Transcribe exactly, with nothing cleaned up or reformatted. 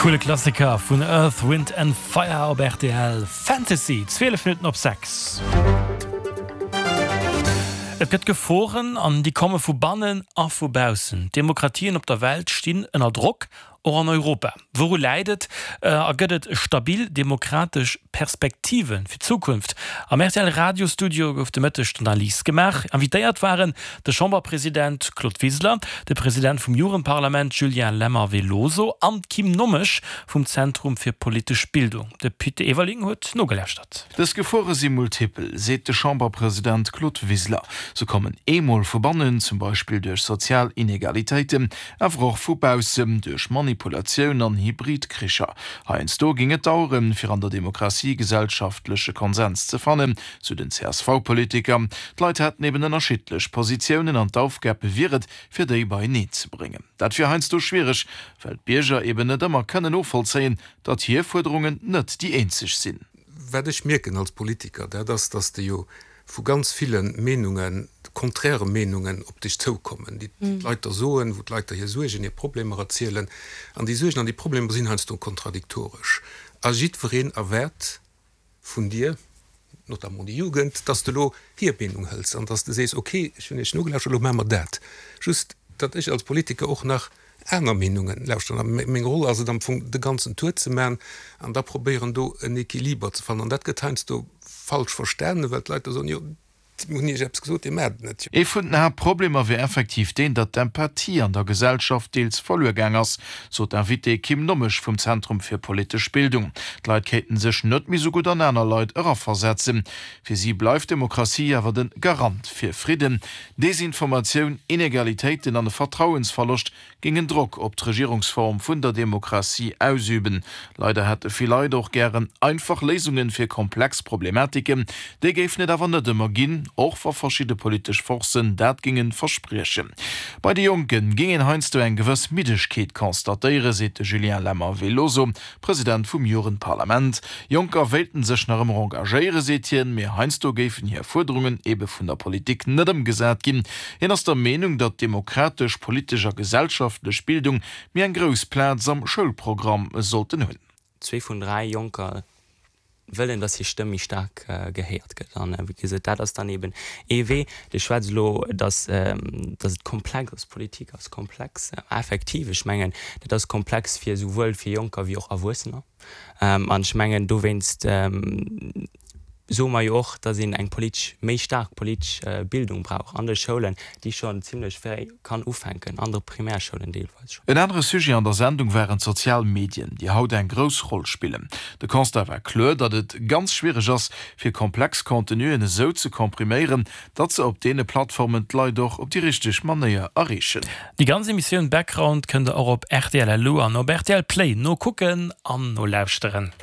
Coole Klassiker vun Earth, Wind and Fire op rtl, Fantasy, zwielef Minutten op sechs. Et gëtt Geforen an déi komme vu bannen a vu baussen. D'Demokratien op der Welt stinn ënner Drock, och an Europa. Wouru läit et a gëtt et stabil demokratesch Perspektive fir d'Zukunft? Am rtl Radiostudio gouf de Mëtteg d'Analys gemaach. Invitéiert waren de Chamberpresident Claude Wiseler, de President vum Jugendparlament Julien Lemmer-Veloso an d'Kim Nommesch vum Zentrum fir politesch Bildung. De Pit Everling huet nogelauschtert. Dës Gefore si multipel, seet de Chamberpresident Claude Wiseler. Se kommen eemol vu bannen, zum Beispill duerch sozial Inegalitéiten, awer och vu baussen, duerch Manipulatioun an Hybridkricher. Heiansdo géing et daueren, fir an der Demokratie gesellschaftleche Konsens ze fannen, sou den C S V-Politiker. D'Leit hätten eben ënnerschiddlech Positiounen an d'Aufgab wier et, fir déi beieneen ze bréngen. Dat wier heiansdo schwiereg, well d'Bierger eben net ëmmer kënnen novollzéien, datt hir Fuerderungen net déi eenzeg sinn. Wat ech mierken als Politiker, dat ass, datt s de jo vu ganz ville Meenungen, konträre Meenungen op dech zoukommen, déi d'Leit der soen, wou d'Leit der hir Suergen, hir Problemer erzielen. An déi Suergen an déi Problemer sinn heiansdo kontradiktoresch. A jiddwereen erwaart vun dir, notamment déi Jugend, datt s de elo hir Meenung hëls an datt s de sees, okay, ech hunn iech nogelauschtert, elo maache mer dat. Just, datt ech als Politiker och nach aner Meenungen lauschteren. A meng Roll ass et am Fong, de ganzen Tour ze maachen an da probéieren, do en Equiliber ze fannen. An dat gëtt heiansdo falsch verstanen, well d'Leit da soen, jo, mir hunn iech eppes gesot, dir maacht et net. Ee vun den Haaptproblemer wier effektiv deen, datt d'Empathie an der Gesellschaft deels verluer gaang ass, sot d'Invitée Kim Nommesch vum Zentrum fir politesch Bildung. D'Leit kéinten sech net méi sou gutt an aner Leit eraversetzen. Fir si bleift d'Demokratie awer de Garant fir Fridden. Desinformatioun, Inegalitéiten an e Vertrauensverloscht géingen Drock op d'Regierungsform vun der Demokratie ausüben. Leider hätte vill Leit och gären einfach Léisunge fir komplex Problematiken. Déi géifen et awer net ëmmer ginn, och wa verschidde politesch Forcen dat géinge verspriechen. Bei de Jonke géing een heiansdo eng gewëss Middegkeet constatéieren, seet de Julien Lemmer-Veloso, President vum Jugendparlament. Jonker wéilten sech nach ëmmer engagéieren, seet hien, mee heiansdo géifen hir Fuerderungen ebe vun der Politik net ëmgesat ginn. Hien ass der Meenung, datt demokratesch, politesch a gesellschaftlech Bildung méi eng grouss Plaz am Schoulprogramm sollten hunn. Zwee vun dräi Jonker wëllen, dass hir Stëmm méi staark gehéiert gëtt. An wéi gesot, dat ass dann eben ee Wee. Dir schwätzt elo, dass, dass et komplex ass, Politik ass komplex. Effektiv, ech mengen, dat ass komplex fir esouwuel fir Jonker wéi och Erwuessener. An ech mengen, dowéinst soe mer jo och, dass een eng politesch, méi staark politesch Bildung brauch an de Schoulen, déi schonn zimlech fréi kann ufänken, an de Primärschoulen deelweis schonn. En anere Sujet an der Sendung waren d'sozial Medien, déi haut eng grouss Roll spillen. De Constat war kloer, datt et ganz schwiereg ass, fir komplex Contenuen esou ze kompriméieren, datt se op deene Plattformen d'Leit och op déi richteg Manéier erreechen. Déi ganz Emissioun Background kënnt der och op rtl L U an op rtl Play nokucken an nolauschteren.